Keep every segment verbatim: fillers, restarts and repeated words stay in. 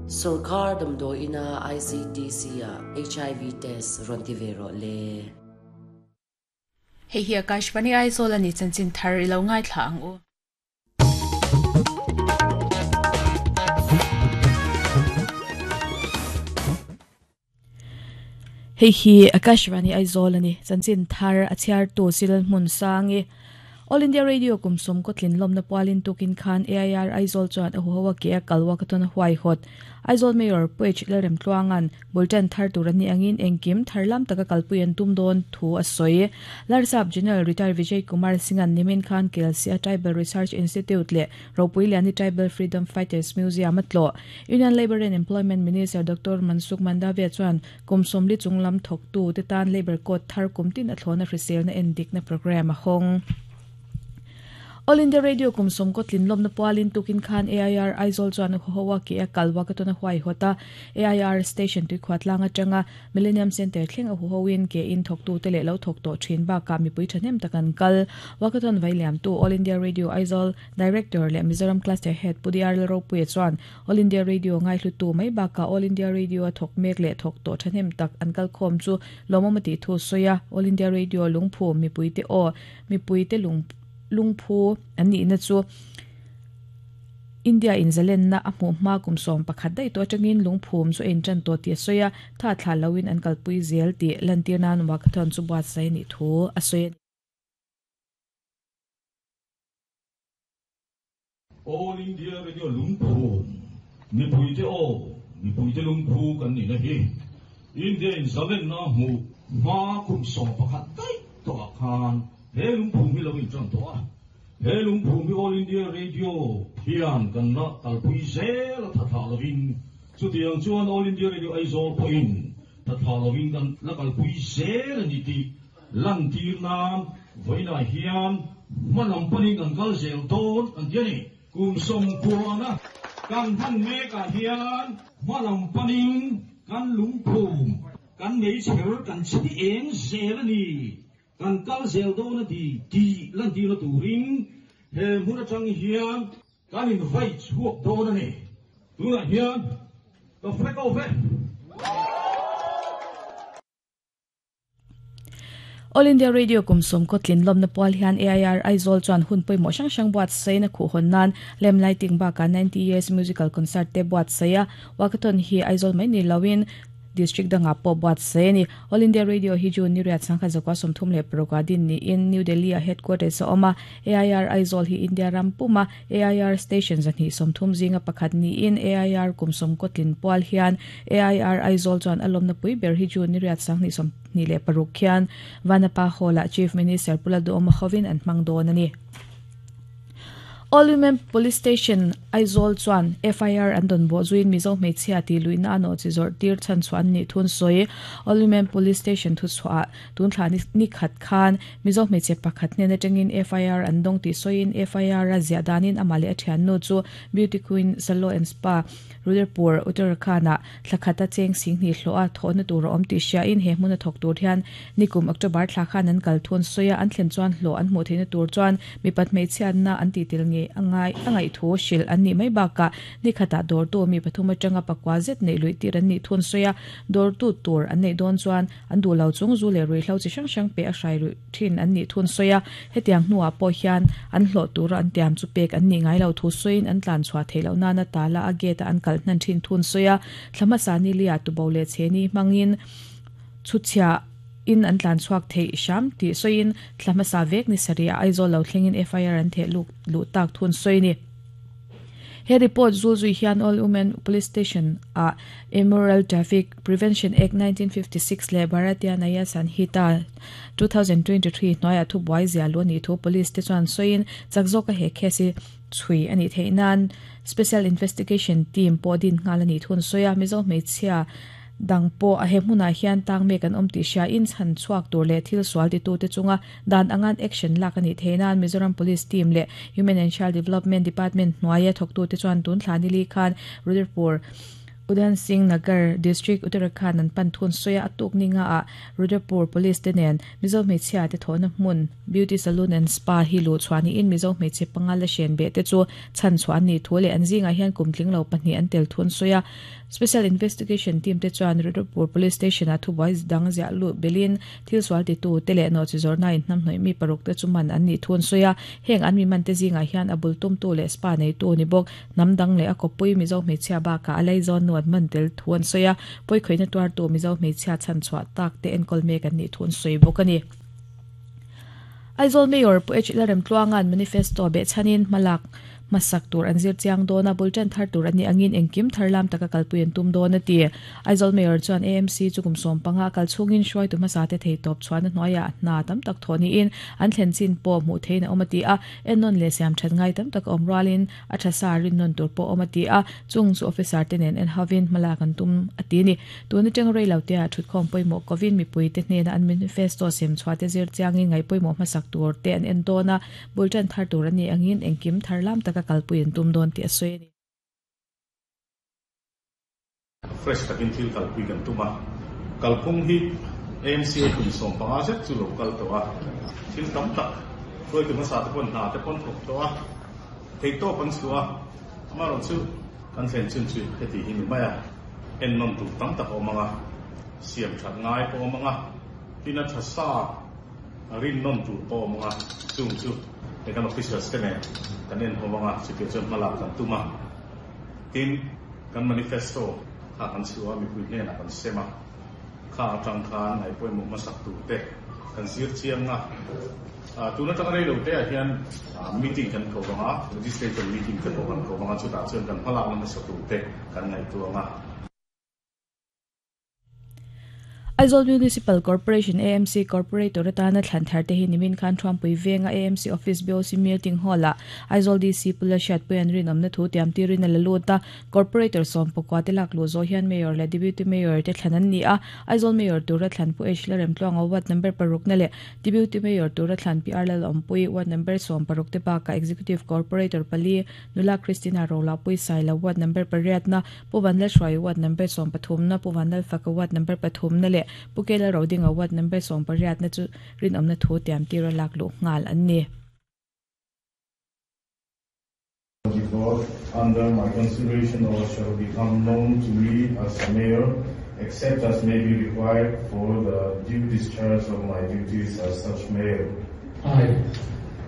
Sorkar damdawiin ah I C T C ah H I V test rawn ti ve rawh le. Hei hi Akashvani Aizawl ani chanchin thar i lo ngaithla ang u. Hei hi Akashvani Aizawl ani chanchin thar a chhiar tu sil hmun sangi. All India Radio kumsum ko tlin lomna pualin tukin khan A I R Aizawl chuan a huhawa ke a kalwa ka tuna huai hot. Aizawl Mayor Puech Lalrem Tluangan bultan thar tur ani angin engkim tharlam taka kalpuian tum don thu a soi. Larsap General Retired Vijay Kumar Singhan nimin khan K L C A Tribal Research Institute le Ropuiliani Tribal Freedom Fighters Museum atlo. Union Labor and Employment Minister Doctor Mansukh Mandavia chuan kumsum li chunglam thok tu te tan Labor Code thar kumtin athlona hrisel na endik na program a hong. All India Radio kumsum ko tlin lomna pualin tukin khan A I R Aizawl chuan huhawa ke a kalwa ka tuna huai hota A I R station tui khwatlanga tanga Millennium Center thleng a huhawin ke in thok tu te le lo thok to thin ba ka mi pui thanem takan kal wakathon vailiam tu All India Radio Aizawl Director le Mizoram Cluster Head Pudiar Ropui chuan All India Radio ngai hlu tu mai ba ka All India Radio a thok mek le thok to thanem tak an kal khom chu lomomati thu soya All India Radio lungphu mi pui te o mi pui te lung lungphu ani na chu India in zalen na a hmu hma kum som pakhat dai to atangin lungphum chu en tan to ti soya tha thla lawin an kalpui zel ti lantir nan wakathon chu buat sai ni thu a soya. All India Radio lungphum mi pui te o mi pui te lungphu kan ni na hi India in zalen na hmu hma kum som pakhat dai to khan he lungphum hi lo in tran to a he lungphum hi All India Radio hian kan na kalpui zel a tha tha lovin chu tiang chuan All India Radio Aizawl pawh in tha tha lovin kan la kalpui zel ani ti lan tir nan voina hian hmalam panin kan kal zel dawn an ti ani kum som kuana kan han mek ah hian hmalam panin kan lungphum kan nei chher kan chi eng zel ani kan kal zel dawn a ti ti lan ti na turin he hmun atang hian kan in vai chhuak dawn ani tunah hian ka flag off e. All India Radio kumsum ko tlin lomna pual hian A I R Aizawl chuan hun pawimawh hrang hrang buat saina khuh hawn nan lem lighting baka ninety years musical concert te buat saia wakathon hi Aizawl mai ni lawin district danga po buat saini All India Radio hi ju ni riat sangkha zakwa somthum le paruk din ni in New Delhi a headquarters oma A I R Aizawl hi India ram puma A I R station zani somthum zinga pakhat ni in A I R kumsum ko tlin pual hian A I R Aizawl chuan alomna pui ber hi ju ni riat sangni som ni le paruk khian Vanapa Hola Chief Minister Puladu Omachovin an hmang dawn ani. All Women Police Station Aizawl chuan F I R an don bo zuin Mizo hmeichhia ti luina ano chi zawrh tir chhan chuan ni thun sawi All Women Police Station thu chhuah tun thla ni khat khan Mizo hmeichhe pakhat hnen atangin F I R an dawng ti sawiin F I R a ziah danin amah leh a thian nu chu Beauty Queen Salo and Spa Rudrapur Uttarakhand ah thlakhata cheng sing ni hlo a thawhna tur a awm tih hriain he hmun a thawk tur hian nikum October thla khan an kal thun sawi a an thlen chuan hlo an hmuh theihna tur chuan mipat hmeichhiatna an ti tel nge angai angai thu hril an ni mai baka ni khata dawr tu mi pathum atanga pakwa zet nei lui tir an ni thun sawi a dawr tu tur an nei dawn chuan an duh lo chung zu leh ruihhlo chi hrang hrang pe a hrai ru thin an ni thun sawi a hetiang hnuah pawh hian an hlawh tur an tiam chu pek an ni ngai lo thu sawiin an tlan chhuah theih loh nana tala a gate a an kal hnan thin thun sawi a thlama sani lia tubo le cheni hmangin chhuchhia in an tlan chhuak thei hram ti sawiin thlama sa vek ni saria Aizawl lo thlengin F I R an theh lu lu tak thun sawi ni. He report zulzui hian All Women Police Station a Immoral Traffic Prevention Act nineteen fifty-six le Bharatiya Nyaya Sanhita two thousand twenty-three hnuaiah thu buai zia lu ani thu police te chuan sawiin chakzawka he khesi chui ani theinan Special Investigation Team pawh din nghal ani thun sawi a Mizo hmeichhia dang po a he hmunah hian tang mek an awm tih hria in chhan chhuak tur leh thil sual ti tu te chunga dan angan action lak ani theinan Mizoram Police Team le Human and Child Development Department hnuaia thawk tu te chuan tun thla ni li khan Rudrapur Udham Singh Nagar District Uttarakhand an pan thun soya atuk ninga a Rudrapur Police te nen Mizo hmeichhia te thawhna hmun Beauty Salon and Spa hi lu chuani in Mizo hmeichhe panga la hren be te chu chan chuan ni thu leh an zingah hian kum tling lo pahnih an tel thun soya Special Investigation Team te chuan Rudrapur Police Station a thubuai dang ziah lu belin thil sual ti tu te leh no chi zawrna in hnam hnawih mi paruk te chu man an ni thun soya heng an mi man te zingah hian a bul tum tu leh spa nei tu ni bawk nam dang leh a kawppui Mizo hmeichhia baka a lei zawn nuat man tel thuan soya poi khoina tuar tu Mizo hmeichhia chan chhuah tak te enkawl mek an ni thun soi bawk ani. Aizawl Mayor Pu H Lalremtluanga'n manifesto be chanin malak masak tur an zir chiang dona bultan thar tur ani angin engkim tharlam taka kalpui an tum dona ti. Aizawl Mayor chuan A M C chukum som panga kal chungin hruai tu hmasa te thei tawp chuan hnuaia hna tam tak thawni in an thlen chin pawh hmuh thein a awm a ti a ennawn leh siam that ngai tam tak awm rualin a tha sa rin nawn tur pawh awm a ti a chung chu officer te nen en havin hmalak an tum a ti ni. Tuna teng rei lo te a thutkhawm pawimawh kovin mipui te hnena an manifesto sem chhuah te zir chiangin ngai pawimawh hmasak tur te an en dawna bultan thar tur ani angin engkim tharlam taka kalpui an tum dawn ti a sawi ani. Fresh takin thil kalpui kan tuma kalphung hi A M C kum som panga zet chu lo kal to a thil tam tak hruai tu hmasa te pawn hna te pawn thawk to a thei tawp an chhuah amarawh chu kan thlen chun chu heti hi ni mai a en nawn tur tam tak awm anga siam that ngai pawh awm anga tin a tha sa rin nawn tur pawh awm anga chung chu kan officers te nen kan en ho anga chutia chuan hmalak kan tuma tin kan manifesto kha kan chhuah mipui hnenah kan sem a kha atang khan ngai pawimawh hmasak tur te kan zir chiang a tuna tang rei lo te ah hian meeting kan ko anga legislature meeting te pawh kan ko anga chutah chuan kan hmalak na hmasa tur te kan ngaihtuah anga. Aizawl Municipal Corporation A M C Corporator atana thlan thar te hi nimin khan Thuampui venga A M C Office B O C Meeting Hall a Aizawl D C Pula Hriatpui an rinawmna thu tiam tirin a la lut a Corporator sawm pakua te lak lu zawh hian Mayor leh Deputy Mayor te thlan an ni a Aizawl Mayor tura thlan Pu H Lalremtluanga Ward number paruk na leh Deputy Mayor tura thlan P R Lalawmpui Ward number sawm paruk te baka Executive Corporator pali Nula Christina Rolapui Saila Ward number pariat na Pu Vanlalhruai Ward number sawm pathum na Pu Vanlalfaka Ward number pathum na leh Pukela Rodinga Ward number sawm pariat na chu rinawmna thu tiam tira lak lu ngal an ni. Under my consideration or shall become known to me as mayor, except as may be required for the due discharge of my duties as such mayor. I,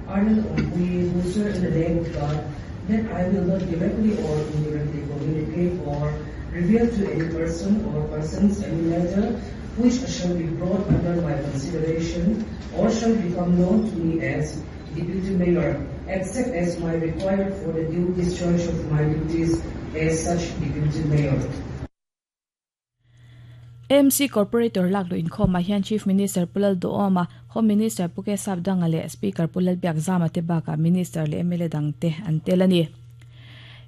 Arnold Ompui, who swear in the name of God that I will not directly or indirectly communicate or reveal to any person or persons any matter which shall be brought under my consideration or shall become known to me as Deputy Mayor, except as may required for the due discharge of my duties as such Deputy Mayor. A M C Corporator lak lu inkhawm ah hian Chief Minister Pulal Duhoma, Home Minister Pu K Sapdanga leh Speaker Pulal Biakzama te bakah Minister leh M L A dang te an tel ani.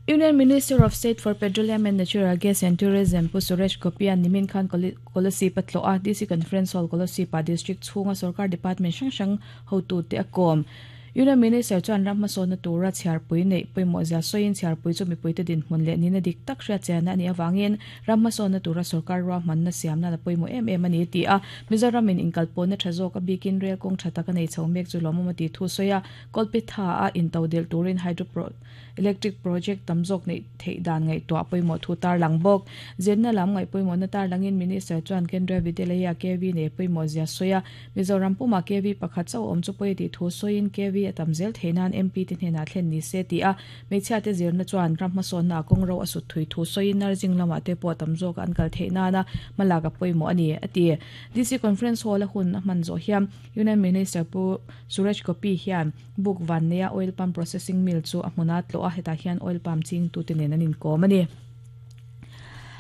Union Minister of State for Petroleum and Natural Gas and Tourism Pu Suresh Gopi an nimin khan Kolasib atlo a D C Conference Hall Kolasib pa District chhunga Sarkar Department hrang hrang hotu te a kawm. Union Minister chuan ram hmasawnna tura chhiarpui nei pawimawh zia sawiin chhiarpui chu mipui te dinhmun leh nina dik tak hriat chianna ani awangin ram hmasawnna tura sarkar ruahmanna siamna la pawimawh em em ani ti a Mizoram in inkalpawhna tha zawk a bikin rail kawng tha tak a nei chho mek chu lawmawm a ti thu sawi a Kolpitha a intodel turin hydro electric project tam zawk nei theih dan ngaihtuah pawimawh thu tar lang bawk zirna lam ngaih pawimawhna tar langin Minister chuan Kendriya Vidyalaya K V nei pawimawh zia sawi a Mizoram puma K V pakhat chauh awm chu pawi ti thu sawiin K V atam zel theinan M P te hnenah thlen ni se ti a hmeichhia te zirna chuan ram hmasawnna kawng ro a sut thui thu sawiin nursing lamah te pawh tam zawk an kal theihnana hmalak a pawimawh ani a ti. D C Conference Hall a hun a hman zawh hian Union Minister Pu Suresh Gopi hian book van neia oil palm processing mill chu a hmuna tlo a hetah hian oil palm ching tu te nen an inkawm ani.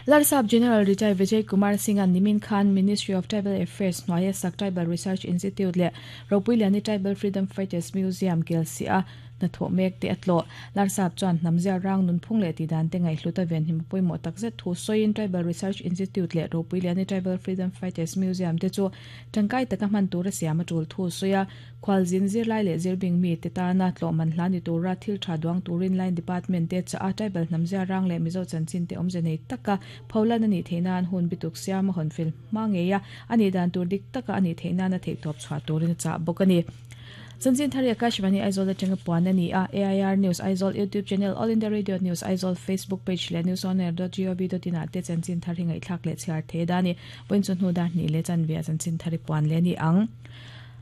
Larsap General Retired Vijay Kumar Singh an nimin khan Ministry of Tribal Affairs hnuaia sak Tribal Research Institute leh Ropuiliani Tribal Freedom Fighters Museum Kelsi a na tho mek te atlo larsap chuan hnamzia rang nun phung le ti dan te ngai hluta ven him poimo takzet thu soin Tribal Research Institute le Ropuiliani Tribal Freedom Fighters Museum te chu tangkai taka man tura siama tul thu soya khwal zin zir lai le zirbing mi te ta na tlo man hlani tura thil tha duang turin line department te cha tribal hnamzia rang le mizo chanchin te omje nei taka pholan ani theinan hun bituk siama hon fil mangeya ani dan tur dik taka ani theinan a thei top chha turin cha bokani Chanchin thari Akashvani Aizawl atanga puan ani a A I R News Aizawl YouTube channel All India Radio News Aizawl Facebook page le news on air dot gov dot in ate chanchin thari ngai thlak le chhiar the dani point chu hnu dar ni le chan via chanchin thari puan le ni ang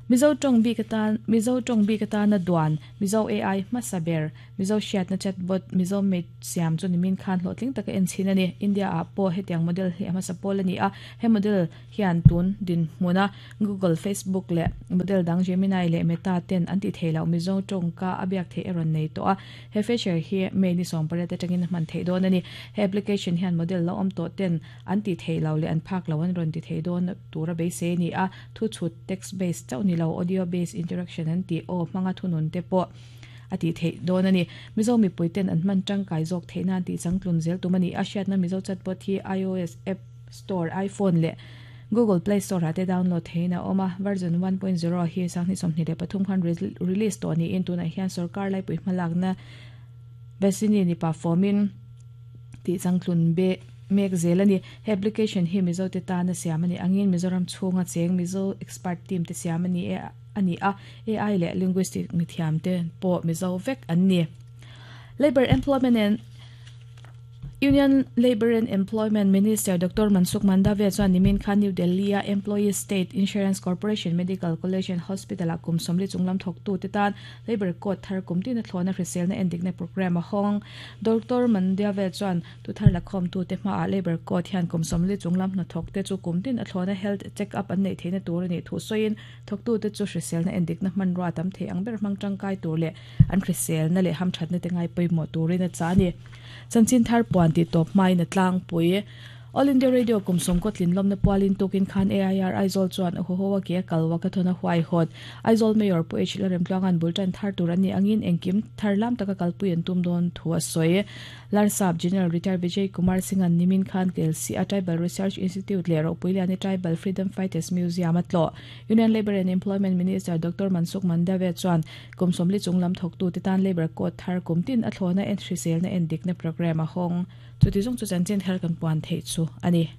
Mizo tong bi katan Mizo tong bi katan na duan Mizo A I masaber Mizo shiat na chatbot Mizo mate siam chu nimin khan hlotling taka en chin ani India a po hetiang model hi ama sapol ani a he model hian tun din hmuna Google Facebook le model dang Gemini le Meta ten anti theilo Mizo tong ka abiak the eron nei to a he feature hi me ni som pare te tangin man thei don ani he application hian model lo om to ten anti theilo le an phak lo an ron ti thei don tura be se ni a thu chut text based chau ni lo audio based interaction an ti o manga thunun te po ati thei don ani Mizo mi puiten an man tangkai jok theina ti changtlun zel tumani asiat na Mizo chatbot hi iOS App Store iPhone le Google Play Store ate download theina oma version one point zero hi sangni somni le pathum khan release to ni in tuna hian sarkar lai pui hmalak na besini ni performin ti changtlun be mek zelani he application hi Mizo te ta na siamani angin Mizoram chhunga cheng Mizo expert team te siamani e ani a A I le linguistic mithiam te po Mizo vek anni Labor Employment and Union Labor and Employment Minister Doctor Mansukh Mandavia chuan nimin khan New Delhi a Employee State Insurance Corporation Medical College and Hospital a kum somli chunglam thoktu te tan Labor Code thar kumtin a thlona hrisel na endikna program a hong Doctor Mandavia chuan tu thar lakhom tu te hma a Labor Code hian kum somli chunglam na thok te chu kumtin a thlona health check up an nei theina tur ani thu soin thoktu te chu hrisel na endikna hman ro tam the angber hmang tangkai tur le an hrisel na le ham thatna te ngai poimo turin a chani chanchin thar puan ti top mai na tlang pui All India Radio kumsom kotlin lomna pualin tukin khan A I R Aizawl chuan ho hoa ke kalwa ka thona huai hot Aizawl Mayor pu H Lalrem tlangan bultan thar turani angin engkim tharlam taka kalpui an tum don thua soi Larsap General Retired Vijay Kumar Singh an nimin khan K L C a Tribal Research Institute le Ropuiliani Tribal Freedom Fighters Museum atlo Union Labor and Employment Minister Doctor Mansukh Mandavia chuan kumsomli chunglam thoktu titan Labor Code thar kumtin athlona en hrisel na endikna program a hong chuti jong chu chanchin thar kan puan thei chu ani.